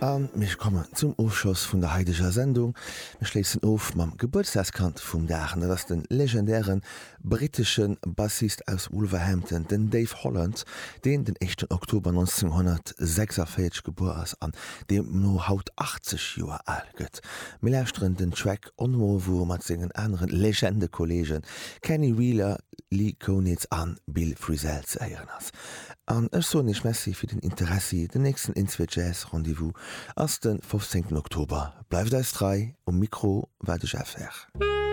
A mir kommen zum Ofschloss vun der haideger Sendung. Mir schléissen of mam Gebuertsdagskand vum Dag, an dat ass de legendäre brittesche Bassist aus Wolverhampton, den Dave Holland, deen den éischten Oktober 1946 gebuer ass an deemno haut 80 Joer al gëtt. Mir lauschteren den Track Onmo, wou e mat sengen aneren Legende-Kolleegen Kenny Wheeler, Lee Konitz a Bill Frisell ze héieren ass. An ech soen iech Merci fir den Interessi. Den nächsten Inzwee Jazz Rendez-vous ass de 15 Oktober. Bleift eis trei, um Mikro war de Jeff Herr.